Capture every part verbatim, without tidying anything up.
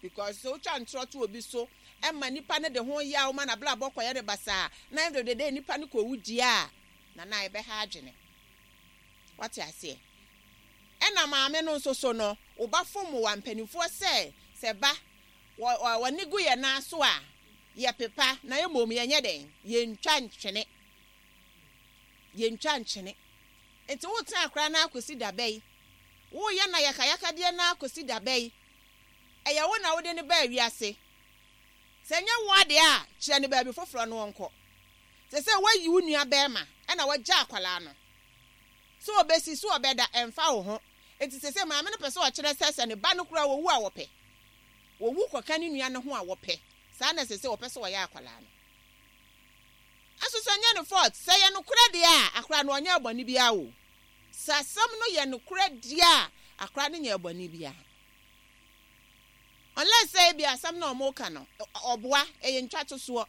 Because sɛ wotwa ntorɔ to obi so ɛma nipa no de ho yaw ma n'abrabɔ kɔyɛ ne basaa na end of the day nipa no kɔwu die a, nana, ɛbɛha adwene. Wate aseɛ? Ɛna maame no nso so no, woba fom wa mpanimfoɔ sɛ sɛ ba wɔ wɔne gu yɛn nan so a, yɛpepa na mmom yɛnyɛ dɛn? Yɛntwa ntwene, yɛntwa nkyene. Nti wotena akora no akɔsi daba yi, woyɛ na yakayakadeɛ no akɔsi daba yi, ɛyɛ wo na wode ne baa wiase. Sɛ nyɛ wo adeɛ a, kyerɛ no baabi foforɔ no wɔnkɔ. Sɛ sɛ woayi wo nua bɛrima ɛna wagya akwalaa no sɛ ɔbɛsi so ɔbɛda, ɛmfa wo ho. Nti sɛ sɛ maame no pɛ sɛ ɔkyerɛ sɛ sɛ ne ba no kora wɔwu a, wɔpɛ wɔwu kɔka ne nua no ho a, wɔpɛ saa na sɛ sɛ wɔpɛ sɛ wɔyɛ akwalaa no aso. Sɛ nyɛ ne fault, sɛ yɛ nokorɛ deɛ a, akora no ɔnyɛ bɔne biara o. Sɛ asɛm no yɛ nokorɛ deɛ a, akora no nyɛ bɔne biara, unless sɛ ebi asɛm na ɔmo ka no ɔboa, ɛyɛ ntwa to soɔ.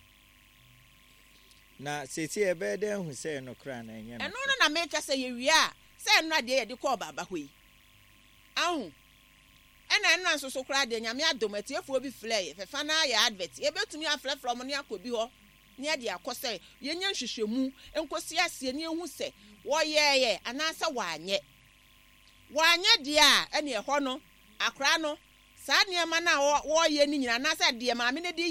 Na seesei ɛbɛyɛ dɛ ahu sɛ ɛyɛ nokorɛ anaa ɛnyɛ ɛno no na meka sɛ yɛwie a, sɛ ɛno adeɛ yɛde kɔɔ baaba hɔ yi ahu, ɛna ɛno nso so koraa deɛ, Nyame adom, atiefoɔ bi frɛ yɛ fɛfa na ayɛ advert. Yɛbɛtumi afrɛfrɛ ɔmo ne akɔ bi hɔ ne yɛde akɔ sɛ yɛnyɛ nhwehwɛmu nkɔsi aseɛ ne yɛhu sɛ wɔyɛɛyɛ anaasɛ wɔanyɛ. Wɔanyɛ deɛ a, ɛne ɛhɔ no akora no saa nneɛma no a wɔreyɛ no nyinaa anaasɛ deɛ maame no de yɛ.